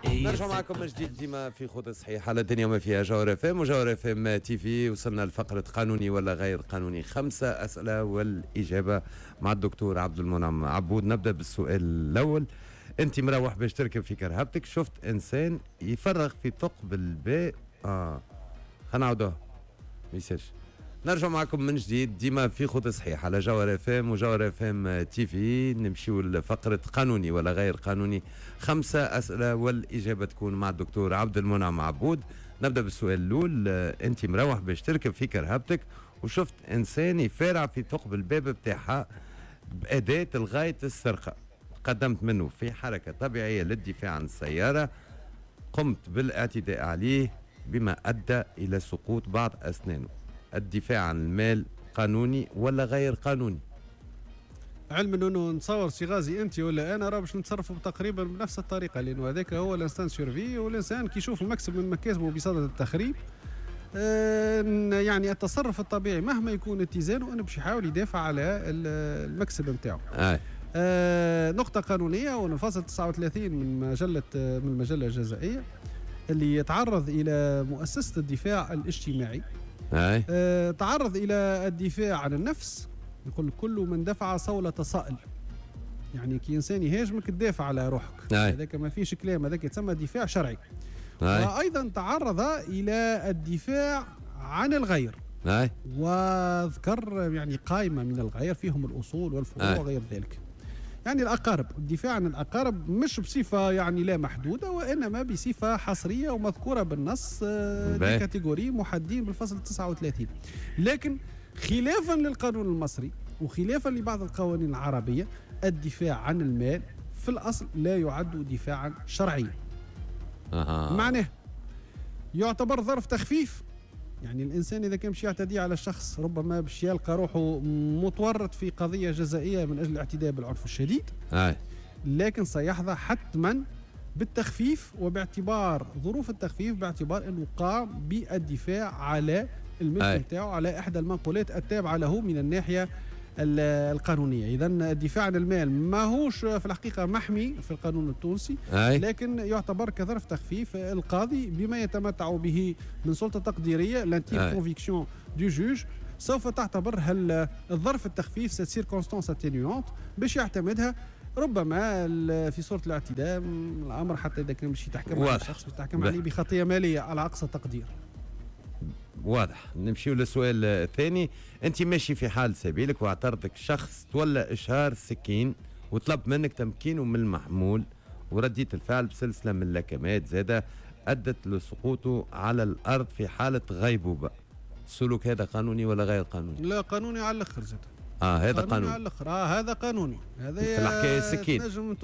نرجع معكم من جديد ديما في خذ الصحيح على الدنيا وما فيها، جوهرة اف ام وجوهرة اف ام تي في. وصلنا لفقرة قانوني ولا غير قانوني، 5 أسئلة والإجابة مع الدكتور عبد المنعم عبود. نبدأ بالسؤال الأول. أنت مروح باش تركب في كرهبتك، شفت إنسان يفرغ في ثقب الباء. خلينا نعاودوها ما يصيرش. نرجع معكم من جديد ديما في خذ صحيح على جوهرة اف ام وجوهرة اف ام تي في. نمشيو لفقرة قانوني ولا غير قانوني، 5 أسئلة والإجابة تكون مع الدكتور عبد المنعم عبود. نبدأ بالسؤال الأول. أنت مروح باش تركب في كرهبتك وشفت إنسان يفارع في ثقب الباب بتاعها بأداة لغاية السرقة، قدمت منه في حركة طبيعية للدفاع عن السيارة، قمت بالاعتداء عليه بما أدى إلى سقوط بعض أسنانه. الدفاع عن المال قانوني ولا غير قانوني؟ علما انه نتصور سي غازي انت ولا انا راه باش نتصرفوا تقريبا بنفس الطريقة، لانه هذاك هو l'instinct de survie، والانسان كي يشوف المكسب من مكاسبه بصدد التخريب يعني التصرف الطبيعي مهما يكون اتزانه انه باش يحاول يدافع على المكسب نتاعو. نقطة قانونية، ونفصل 39 من مجلة من المجلة الجزائيه اللي يتعرض الى مؤسسة الدفاع الاجتماعي. تعرض الى الدفاع عن النفس، يقول كل من دفع صولة صائل، يعني كي انسان يهاجمك تدافع على روحك، هذاك ما فيش كلام، هذاك يتسمى دفاع شرعي. وايضا تعرض الى الدفاع عن الغير، وذكر يعني قائمة من الغير فيهم الاصول والفروع وغير ذلك. يعني الأقارب، الدفاع عن الأقارب مش بصفة يعني لا محدودة، وإنما بصفة حصرية ومذكورة بالنص، des catégories محددين بالفصل 39. لكن خلافا للقانون المصري وخلافا لبعض القوانين العربية، الدفاع عن المال في الأصل لا يعد دفاعا شرعيا. معناه يعتبر ظرف تخفيف، يعني الإنسان إذا كان باش يعتدي على الشخص ربما باش يلقى روحه متورط في قضية جزائية من أجل الاعتداء بالعنف الشديد، لكن سيحظى حتما بالتخفيف، وباعتبار ظروف التخفيف باعتبار أنه قام بالدفاع على الملك نتاعو، على إحدى المنقولات التابعة له من الناحية القانونية. إذا الدفاع عن المال ماهوش في الحقيقة محمي في القانون التونسي، لكن يعتبر كظرف تخفيف. القاضي بما يتمتع به من سلطة تقديرية، l'intime conviction du juge، سوف تعتبر هل الظرف التخفيف cette circonstance atténuante باش يعتمدها ربما في صورة الاعتداء الأمر، حتى إذا كان باش يتحكم على الشخص باش يتحكم عليه بخطية مالية على أقصى تقدير. واضح. نمشيو للسؤال الثاني. انت ماشي في حال سبيلك واعترضك شخص تولى اشهار سكين وطلب منك تمكينه من المحمول، ورديت الفعل بسلسلة من اللكمات زاده ادت لسقوطه على الارض في حاله غيبوبة. السلوك هذا قانوني ولا غير قانوني؟ لا، قانوني على الاخر زاد. هذا قانوني على الاخر. هذا قانوني. هذا في الحكاية السكين تنجم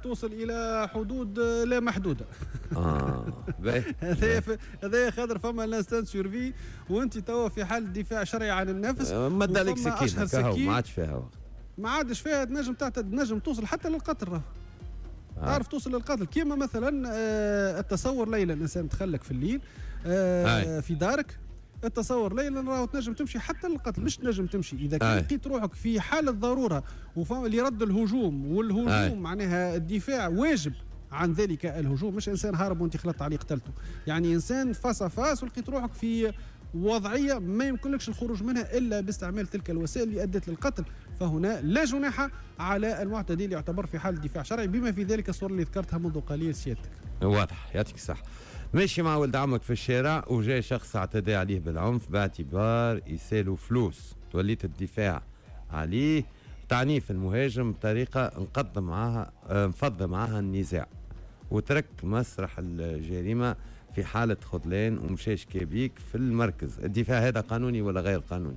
توصل الى حدود لا محدودة. هذا خاطر فما l'instinct de survie، وانت توا في حال دفاع شرعي عن النفس، ما دالك سكين ما عادش فيها وقت، ما عادش فيها، تنجم تنجم توصل حتى للقتل. تعرف توصل للقتل كيما مثلا التصور ليلا، الانسان تخلك في الليل في دارك، التصور ليلا راهو تنجم تمشي حتى للقتل. مش تنجم تمشي اذا كان لقيت روحك في حاله ضرورة لرد الهجوم، والهجوم معناها الدفاع واجب عن ذلك الهجوم، مش انسان هارب وانت خلطت عليه قتلته، يعني انسان face à face ولقيت روحك في وضعية ما يمكنلكش الخروج منها الا باستعمال تلك الوسائل اللي ادت للقتل، فهنا لا جناح على المعتدي اللي يعتبر في حال دفاع شرعي، بما في ذلك الصورة اللي ذكرتها منذ قليل سيادتك. واضح، يعطيك الصحة. ماشي مع ولد عمك في الشارع وجاي شخص اعتدى عليه بالعنف باعتبار يسالوا فلوس، توليت الدفاع عليه تعنيف المهاجم بطريقة انقض معاها انفض معاها النزاع، وترك مسرح الجريمة في حالة خذلان ومشاش كبيك في المركز. الدفاع هذا قانوني ولا غير قانوني؟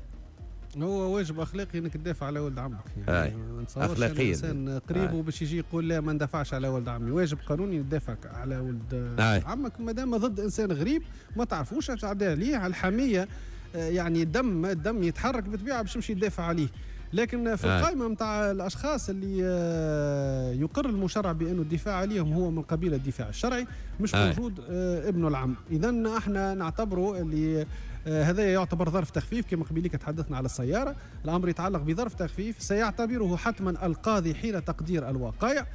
هو واجب اخلاقي انك تدافع على ولد عمك، يعني ما نتصورش اخلاقيا انسان قريب وباش يجي يقول لا ما ندافعش على ولد عمي. واجب قانوني تدافع على ولد عمك ما دام ضد انسان غريب ما تعرفوش تعدي عليه على الحمية، يعني الدم يتحرك بالطبيعة باش يمشي يدافع عليه. لكن في القائمة نتاع الاشخاص اللي يقر المشرع بانه الدفاع عليهم هو من قبيل الدفاع الشرعي مش موجود ابن العم. اذا احنا نعتبره اللي هذا يعتبر ظرف تخفيف كما قبيلك تحدثنا على السيارة، الامر يتعلق بظرف تخفيف سيعتبره حتما القاضي حين تقدير الوقائع.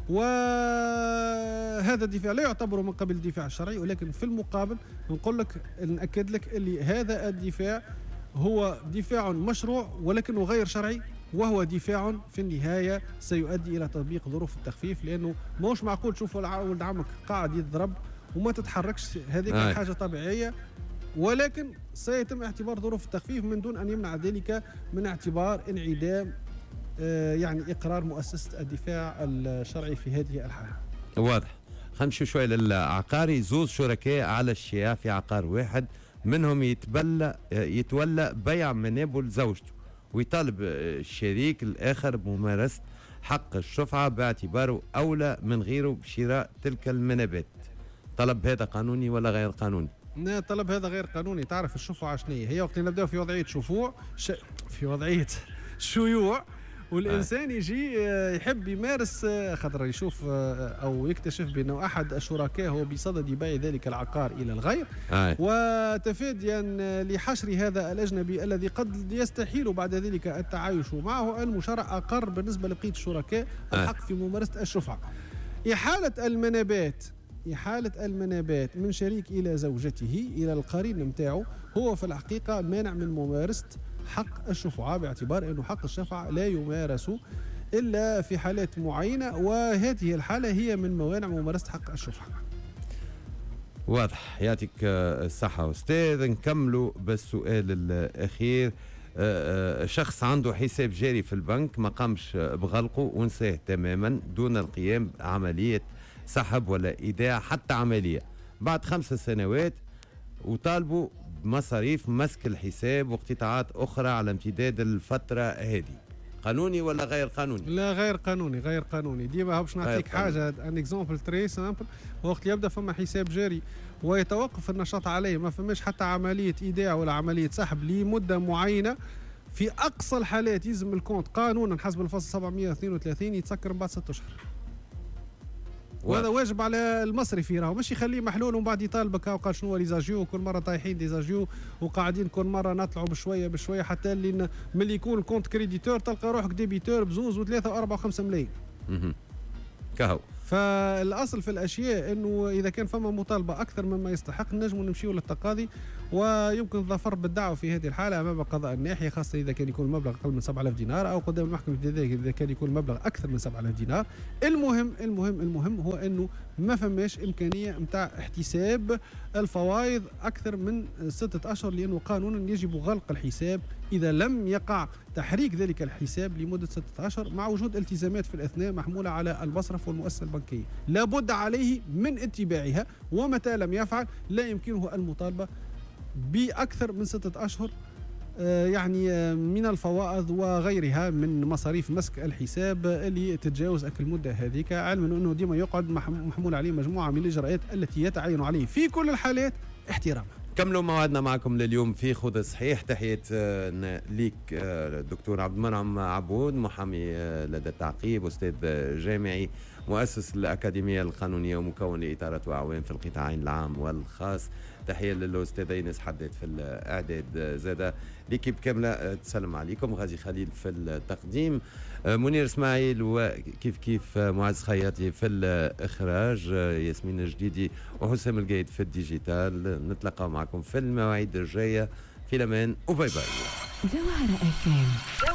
وهذا الدفاع لا يعتبر من قبل الدفاع الشرعي، ولكن في المقابل نقول لك، نأكد لك اللي هذا الدفاع هو دفاع مشروع ولكنه غير شرعي، وهو دفاع في النهاية سيؤدي إلى تطبيق ظروف التخفيف، لأنه ماهوش معقول تشوف ولد عمك قاعد يضرب وما تتحركش، هذيك حاجة طبيعية، ولكن سيتم اعتبار ظروف التخفيف من دون أن يمنع ذلك من اعتبار انعدام يعني إقرار مؤسسة الدفاع الشرعي في هذه الحالة. واضح. خلينا نمشي شوي للعقاري. زوز شركاء على الشياع في عقار واحد، منهم يتولى بيع منابه لزوجته، ويطالب الشريك الآخر بممارسة حق الشفعة باعتباره أولى من غيره بشراء تلك المنابات. طلب هذا قانوني ولا غير قانوني؟ لا، طلب هذا غير قانوني. تعرف الشفعة شنو هي؟ وقت نبداو في وضعية شفوع في وضعية شيوع، والإنسان يجي يحب يمارس، خاطر يشوف أو يكتشف بأنه أحد الشركاء هو بصدد بيع ذلك العقار إلى الغير، وتفاديا لحشر هذا الأجنبي الذي قد يستحيل بعد ذلك التعايش معه، المشرع أقر بالنسبة لبقية الشركاء الحق في ممارسة الشفعة. إحالة المنابات من شريك إلى زوجته إلى القرين متاعه هو في الحقيقة مانع من ممارسة حق الشفعة، باعتبار أنه حق الشفعة لا يمارس إلا في حالات معينة، وهذه الحالة هي من موانع ممارسة حق الشفعة. واضح، يعطيك الصحة أستاذ. نكملوا بالسؤال الأخير. شخص عنده حساب جاري في البنك ما قامش بغلقه ونساه تماما دون القيام بعملية سحب ولا إيداع حتى عملية، بعد 5 سنوات وطالبوا بمصاريف مسك الحساب واقتطاعات أخرى على امتداد الفترة هذه، قانوني ولا غير قانوني؟ لا، غير قانوني، غير قانوني. ديما باش نعطيك حاجة، un exemple très simple. وقت يبدا فما حساب جاري ويتوقف النشاط عليه، ما فماش حتى عملية إيداع ولا عملية سحب لمدة معينة، في أقصى الحالات يلزم ال compte قانونا حسب الفصل 732 يتسكر من بعد 6 أشهر. وهذا واجب على المصرفي، راهو مش يخليه محلول ومن بعد يطالبك وقال شنو les agios، كل مرة طايحين des agios وقاعدين كل مرة نطلعوا بشوية بشوية حتى اللي ملي يكون compte créditeur تلقى روحك débiteur ب2 و3 و4 و5 ملايين. كهو. فالاصل في الاشياء انه اذا كان فما مطالبه اكثر مما يستحق نجموا نمشيو للتقاضي، ويمكن الظفر بالدعوة في هذه الحالة امام قضاء الناحية، خاصة اذا كان يكون المبلغ اقل من 7000 دينار، او قدام المحكمة الابتدائية اذا كان يكون المبلغ اكثر من 7000 دينار. المهم المهم المهم هو انه ما فماش امكانية نتاع احتساب الفوائض اكثر من 6 اشهر، لانه قانونا يجب غلق الحساب اذا لم يقع تحريك ذلك الحساب لمدة 6 اشهر، مع وجود التزامات في الاثناء محموله على المصرف والمؤسسة البنكية لابد عليه من اتباعها، ومتى لم يفعل لا يمكنه المطالبة بأكثر من 6 أشهر يعني من الفوائض وغيرها من مصاريف مسك الحساب اللي تتجاوز أكل المدة هذيك، علما أنه ديما يقعد محمول عليه مجموعة من الإجراءات التي يتعين عليه في كل الحالات احترامها. كملوا موعدنا معكم لليوم في خذ صحيح. تحية ليك دكتور عبد المنعم عبود، محامي لدى التعقيب، أستاذ جامعي، مؤسس الأكاديمية القانونية ومكون لإطارات وأعوان في القطاعين العام والخاص. تحية للأستاذ إيناس حداد في الإعداد، زادة l'équipe كاملة تسلم عليكم، غازي خليل في التقديم، منير إسماعيل وكيف كيف معز خياطي في الإخراج، ياسمين الجديدي وحسام القايد في ال digital. نتلقى معكم في المواعيد الجاية. في الأمان و bye bye. جوهرة FM.